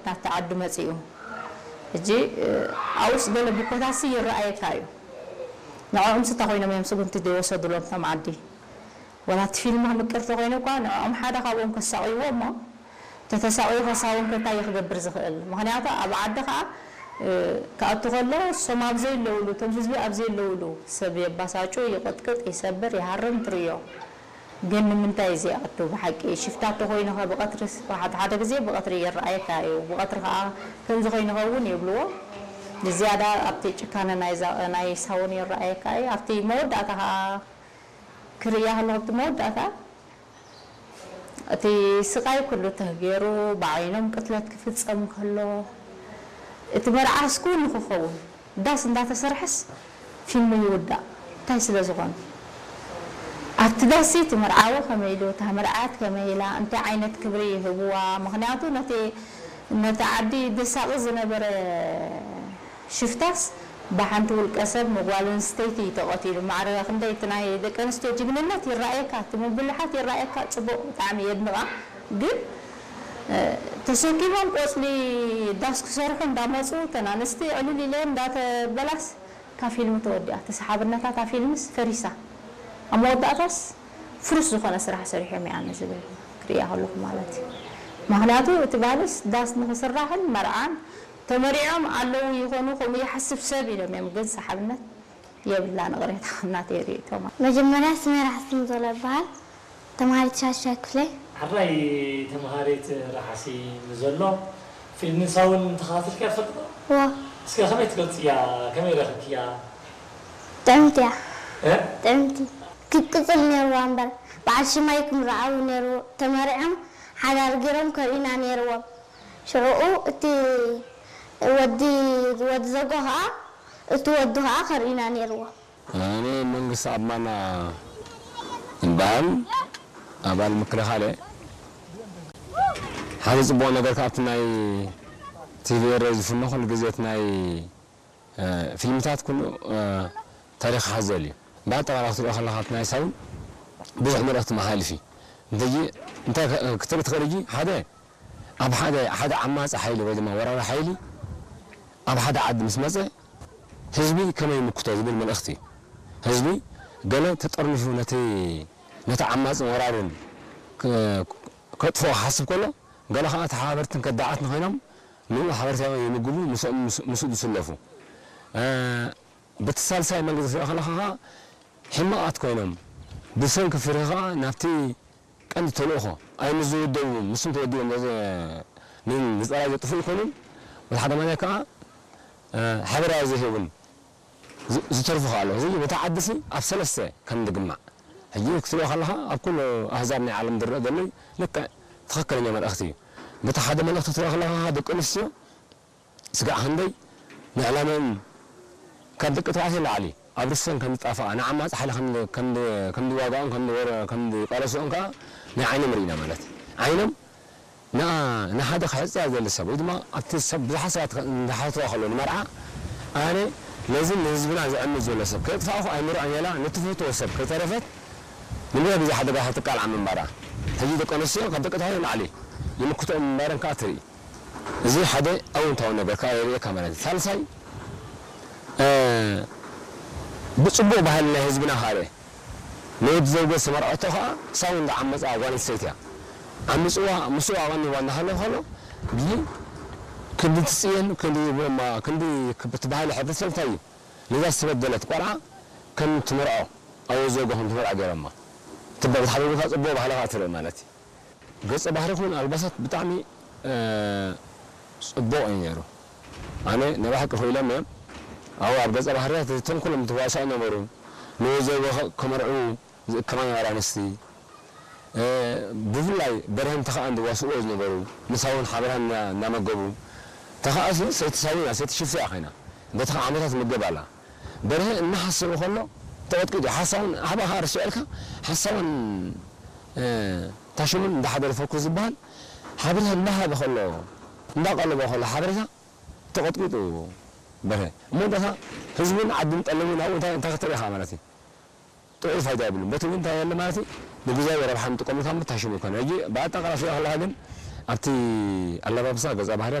ናብቲ ዓዲ መጺኡ። ሕጂ፣ እ፣ ኣብኡስ ገለ ብኮታሲ ይረኣየካ እዩ። ንዕኦምስ እንታይ ኮይኖም እዮም ስጉምቲ ዘይወሰዱሎም እቶም ዓዲ? ዋላ እቲ ፊልም ምቅርቲ ኮይኑ እኳ ንዕኦም ሓደ ካብኦም ከሳቕይዎ እሞ፣ ተተሳቕዩ ከሳውን ከ እንታይ እዩ ክገብር ዝኽእል? ምኽንያቱ ኣብ ዓዲ ኸኣ፣ እ፣ ክኣቱ ከሎ እሶም ኣብ ዘየለውሉ፣ እቶም ህዝቢ ኣብ ዘየለውሉ ሰብ የባሳጩ፣ ይቕጥቅጥ፣ ይሰብር፣ ይሃርም ትርእዮ። ግን ንምንታይ እዚ ይኣቱ? ብሓቂ ሽፍታ ተኾይኑ ኸ ብቐትሪ ሓደ ሓደ ግዜ ብቐትሪ ይረኣየካ እዩ። ብቐትሪ ኸኣ ከምዚ ኮይኑ ኸውን ይብልዎ። ብዝያዳ ኣብቲ ጭካነ ናይ ዛ-፣ ናይ ሳውን ይረኣየካ እዩ። ኣብቲ መወዳእታ ኸኣ ክርእያ ከለኹ ኣብቲ መወዳእታ እቲ ስቓይ ኩሉ ተገይሩ ብዓይኖም ቅትለት ክፍጸም ከሎ፣ እቲ መርዓስ ኩሉ ክኸውን ዳስ እንዳተሰርሐስ ፊልሙ ይውዳእ። እንታይ ስለ ዝኾነ? ኣብቲ ዳስ እቲ መርዓዊ ከመይ ኢሉ፣ እታ መርዓት ከመይ ኢላ፣ እንታይ ዓይነት ክብሪ ይህብዋ? ምኽንያቱ ነቲ፣ ነቲ ዓዲ ዘሳቒ ዝነበረ ሽፍታስ ብሓንቲ ውልቀ ሰብ ንጓል ኣንስተይቲ እዩ ተቐቲሉ። ማዕረ ክንደይ እቲ ናይ ደቂ ኣንስትዮ ጅግንነት ይረኣየካ፣ እቲ ምብልሓት ይረኣየካ፣ ጽቡቕ ብጣዕሚ የድንቓ። ግን፣ እ፣ ተሰኪሞም ቆጽሊ ዳስ ክሰርሑ እንዳመጹ እተን ኣንስቲ ዕልል ኢለን እንዳተበላስ እታ ፊልም ተወዲኣ። ተሰሓብነታ እታ ፊልምስ ፈሪሳ። ኣብ መወዳእታስ ፍሩስ ዝኾነ ስራሕ ሰሪሖም እዮም ዝብል ክርእያ ከለኹ ማለት እዩ። ምኽንያቱ እቲ ባህልስ ዳስ ንኽስራሕን መርዓን ተመሪዖም ኣለዉ ይኾኑ፣ ከምኡ ይሓስብ ሰብ ኢሎም እዮም፣ ግን ሰሓብነት የብላን። ቅሬታ ናተይ ርእይቶ ማለት። መጀመርያ ስመይ ራሕሲ ሙቶላ ይበሃል። ተምሃሪት ሻሻይ ክፍለ። ሕራይ ተምሃሪት ራሕሲ ንዘሎ ፊልም ሳውን ተኸታቲልካ ትፈልጥ ዶ? እዎ። እስከ ከመይ ትገልጽያ? ከመይ ረኽብክያ? ጥዕምቲ እያ። እ? ጥዕምቲ። ክትቅጽል ነይርዋ እምበር፣ በዓል ሽማይ ክምርዓዉ ነይርዎ። ተመሪዖም ሓዳር ገይሮም ከርእዩና ነይርዎም። ሽዑኡ እቲ ወዲ፣ ወዲ ዘጎ ኸኣ፣ እቲ ወዱ ኸኣ ከርእዩና ነይርዎ። ኣነ መንግስቲ ኣማና ይበሃል፣ ኣባል ምክልኻል እየ። ሓደ ጽቡቕ ነገር ከኣ ኣብቲ ናይ ቲቪ ኤረ ዝፍኖ ኩሉ ግዜ እቲ ናይ፣ እ፣ ፊልምታት ኩሉ፣ እ፣ ታሪኽ ሓዘል እዩ። ብኣጠቓላሊ ክትሪኦ ከለኻ እቲ ናይ ሳውን ብዙሕ መልእኽቲ መሓልፍ እዩ። እንተጂ እንታይ ከ-፣ ክትርኢ ትኽእል እጂ ሓደ ኣብ ሓደ፣ ሓደ ዓማጺ ሓይሊ ወይ ድማ ወራሪ ሓይሊ ኣብ ሓደ ዓዲ ምስ መጸ ህዝቢ ከመይ ይምክቶ ዝብል መልእኽቲ እዩ። ህዝቢ ገለ ተጠርኒፉ ነቲ፣ ነቲ ዓማጽን ወራርን ከ-፣ ከጥፍኦ ክሓስብ ከሎ፣ ገለ ኸኣ ተሓባበርትን ከዳዓትን ኮይኖም ንኡ ሓበሬታ የምግቡ፣ ምስኦም ምስ-፣ ምስኡ ዝስለፉ። እ፣ በቲ ሳልሳይ መንገዲ ክትሪኦ ከለኻ ኸኣ ሕማቓት ኮይኖም ብሰንኪ ፍርሂ ኸኣ ናብቲ ቀንዲ ተልእኾ፣ ኣይ ምስ ዝውደቡ፣ ምስም ተወዲቦም ዘዘ-፣ ን-፣ ንጸላኢ ዘጥፍኡ ይኮኑን፣ ወላ ሓደ ማለት ከኣ፣ እ፣ ሓበሬታ ዘይህቡን ዝ-፣ ዝተርፉ ከኣ ኣለዉ። እዚ ነታ ዓድሲ ኣብ ሰለስተ ከም ዝግማዕ። ሕጂ ክትሪኦ ከለኻ፣ ኣብ ኩሉ ኣህዛብ ናይ ዓለም ዝረአ ዘሎ እዩ። ልክዕ ትኽክለኛ መልእኽቲ እዩ። በቲ ሓደ መልእኽቲ ክትሪኦ ከለኻ፣ ደቂ ኣንስትዮ ስጋዕ ክንደይ ንዕላመን ካብ ደቂ ተባዕትዮ ንላዕሊ ኣብ ርእሰን ከም ዝጣፍኣ፣ ንዓማጺ ሓይሊ ከም፣ ከም፣ ከም ዝዋግኦን ከም ዝወረ-፣ ከም ዝቃለስኦን ከኣ ናይ ዓይኖም ርኢና ማለት እዩ። ዓይኖም ንኣ-፣ ንሓደ ክሕጽያ ዝደሊ ሰብ ወይ ድማ ኣብቲ ሰብ ብዙሓት ሰባት ከ-፣ እንዳሓተዋ ከለዉ ንመርዓ፣ ኣነ ነዚ ንህዝብና ዘዕምጽ ዘሎ ሰብ ከየጥፋእኹ ኣይምርዖን እየ ኢላ ንትፈትዎ ሰብ ከይተረፈት ንብዙሕ ግዜ ሓደጋ ክትቃልዓ ምንባራ። ሕጂ ደቂ ኣንስትዮ ካብ ደቂ ተባዕትዮ ንላዕሊ ይምክትኦም ምንባረን ከኣ ትርኢ። እዚ ሓደ ኣወንታዊ ነገር ከኣ የርእየካ ማለት እዩ። ሳልሳይ፣ እ፣ ብጽቡቕ ባህሊ ናይ ህዝብና ከኣ ርእ። ንወዲ ዘውገ ዝተመርዐቶ ከኣ ሳውን ዝዓመጻ ጓል ኣንስተይቲ እያ። ዓሚጽዋ፣ ምስኡ ኣቐኒዋ እናሃለወ ከሎ፣ ብዚ ክንዲ ትጽየን፣ ክንዲ፣ ክንዲ፣ እቲ ባህሊ ሕብረተሰብ እንታይ እዩ? ነዛ ዝተበደለት ቆልዓ ከም ትምርዖ፣ ኣብ ወዲ ዘውገ ከም ትምርዖ ገይሮማ። ትበ-፣ ብሓደ ቦታ ጽቡቕ ባህሊ ከኣ ትርኢ ማለት እዩ። ገጸ ባህሪ ይኹን ኣልባሳት ብጣዕሚ፣ እ፣ ጽቡቕ እዩ ነይሩ። ኣነ ናይ ብሓቂ ክኢሎም እዮም። ኣብኡ ኣብ ገጸ ባህርያት እቶም ኩሎም ተዋሳእ ነበሩ። ንወዘ ወኸ-፣ ከመርዕዉ ዝእከማ ነበራ ኣንስቲ። እ፣ ብፍላይ በርሀን ተኸኣን ዝዋስእዎ ዝነበሩ፣ ንሳውን ሓበራን እና-፣ እናመገቡ። ተኸኣሲ ሰይቲ ሳዊና፣ ሰይቲ ሽፍያ ኮይና። በቲ ኸዓ ዓመታት ትምገብ ኣላ። በርሀ እናሓሰበ ከሎ ተቐጥቂጡ። ሓሳውን ሃባ ኸዓ ርስዑ ኢልካ፣ ሓሳውን፣ እ፣ ታሽሙን እንዳሓደረ ፈኩስ ዝበሃል ሓበሬታ እንዳሃበ ከሎ፣ እንዳቐለቦ ከሎ ሓበሬታ ተቐጥቂጡ በርሀ። እሞ ደታ ህዝብን ዓድን ጠለሙ ናብኡ እንታይ፣ እንታይ ክትርኢ ኢኻ ማለት እዩ? ጥዑይ ፋይዳ የብሉን። በቲ እውን እንታይ የለ ማለት እዩ? ንግዛዊ ረብሓ ንጥቀመሉ ካብ ምታሽሙ ይኮነ። ሕጂ ብኣጠቓላሊ ከለኻ ግን ኣብቲ ኣለባብሳ ገጸ ባህሪ